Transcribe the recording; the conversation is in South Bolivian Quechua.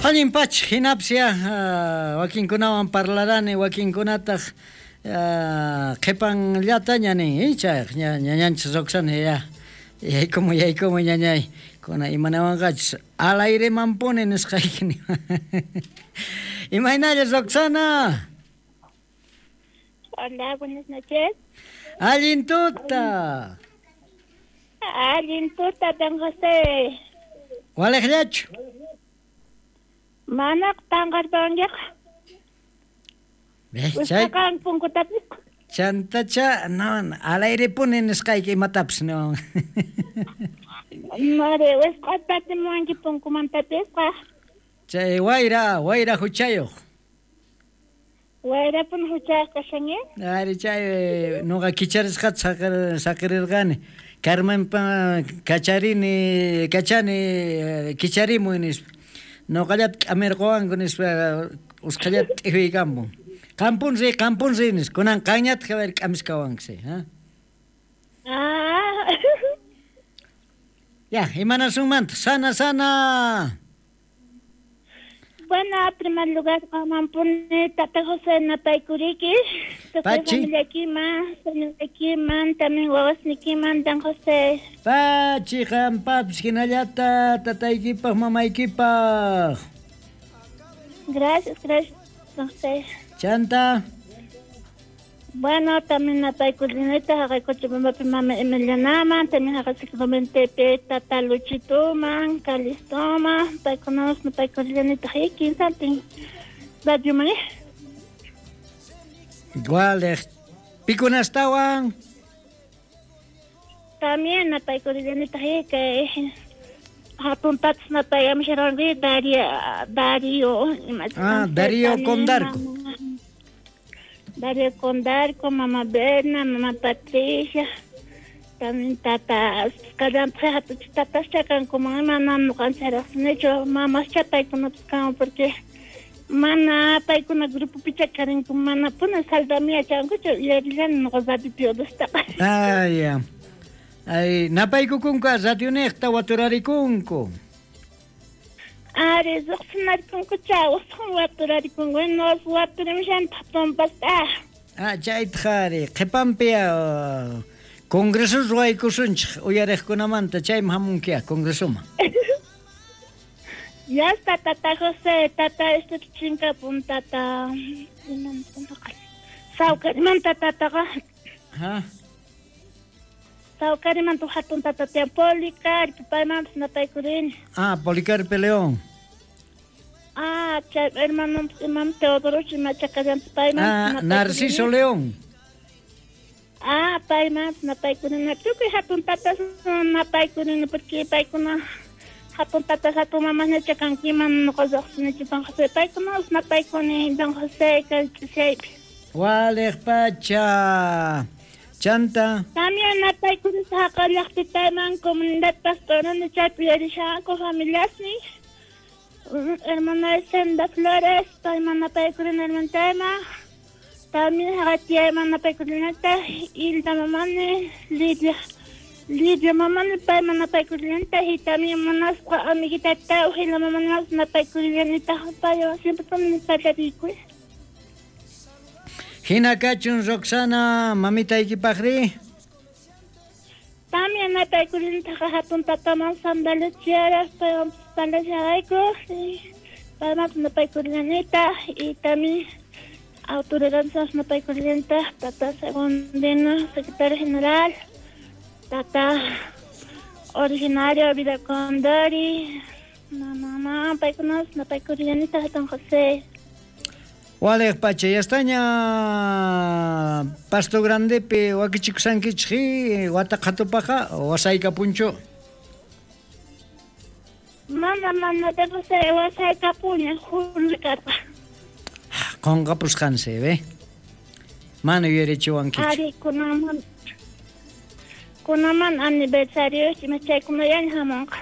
Allin pacha, jinapis ya wakinkunawan parlarani, wakinkunataq qhipanllataña nin, icha ñañanchis Roxana ya yaykumuy yaykumuy ñañay, kuna imanawanqachus al airemanpuni nisqayki niwan. Imaynalla Roxana? Hola, buenas noches. Allin tuta. Allin tuta, don José. Walejllachu? Mana tanqarpankiqa. Chay punkutapis. Chantacha, no, al airepuni nisqayki imatapis no. Mare, wisq'atatimuwanki punkumantapisqa. Chay wayra, wayra huchayuq. Wayrapun huchayuq kashan, eh? Ari chay nuqa kicharisqata saqirirqani. Carmenpa kacharini, kachani, kicharimuy nispa. Noqallata k'amirquwanku nispa usqhayllata t'ijuykampun. Qampun riy, qampun riy nispa. Kunan qanñataq a ver k'amiskawanki, ha? Ah. Ya, imanasunmantaq? Sana, sana. Bueno, en primer lugar, qanmanpuni tata José napaykuriki, tukuy Pachi. familiaykiman, señoraykiman, también wawasniykiman, don José. Pachi, qampapis hinallata tataykipaj, mamaykipaj. Gracias, gracias, don José. Chanta. Bueno, también napaykurinita, jaqaykuchipambapi mama Emilianaman, también jaqaykuchipambapi tata Luchituman, Calistoman, paykunapas napaykurinita, y kinsantin radioman, eh. Igual, pikunastawan. También napaykurinita, que hatun tatas napayamisharanki, Darío, Darío, Ah, Darío también, Condarco. mamá. Darío Condarco, mamá Berna, mamá Patricia, también tata, kallanpaj hatuch tatas chakankuman, mana ñuqanchik riqsinichu, mamas chapaykunapas kanku porque mana paykuna grupopi chakarinku, mana puni saldami yachankuchu, uyarillani ñuqa radiopi udustaqa. Ah, ya. Ay, napaykukunku radioniqta waturarikunku. Ari, riqsinarikunkucha, usqhun waturarikunku, nos waturimishantaq tumpasta. Ah, chaytaq ari, qhipanpi congreso ruwaykusunchik uyariqkunamanta, chayman hamunkiya congresoman. Ya está, tata José, tata, este chinkapun, tata, Sawkarimanta tataqa. Ha? Sawkarimanta hatun tata tiyan Policarpo, paymanpas napaykurini. Ah, Policarpo León. Ah, chay hermano, imam Teodoro Chimachacallantas, paymanpas Ah, napaykurini. Narciso León. Ah, paymanpas napaykurini. Tukuy hatun tatas napaykurini, porque paykuna hatun tatas, hatun mamas ñachakankiman, ñuqa lluqsinichu, don José. Paykunapas napaykuni, don José, kay ch'isiypi. Waliq pacha. Chanta. También napaykuni saqa llaqtitayman, comunidad pastorani chaypi yuyarishanku familiasnin. Hermana Senda Flores, payman napaykurini hermanitayman. También haqatiyayman napaykurinata, Hilda mamani, Lidia. Lidia mamani, payman napaykurinata, y también munasqa amiguitata, Ujila mamani napaykurinata, paywan siempre puni parlarikuy. Hina kachun Roxana, mamitaykipaqri? También napaykurinataqa hatun tataman sandalichiara, paywan parlasharayku, y paymanpas napaykurinata, y también autoridades napaykurinata, tata Segundino, secretario general, tata originario Vida Condori, mamá, paykunas napaykurinata, don José. Waliq pacha, ya estaña Pasto Grandepi wakichikusankichik, wata qhatupaqa, wasaykapunchu? Mana, mana, don José, wasaykapuña, julio karqa. Qunqapusqansi, ve? Mana yuyarichiwankichu. Ari, kunaman, kunaman aniversario, chaykunallaña hamunqa.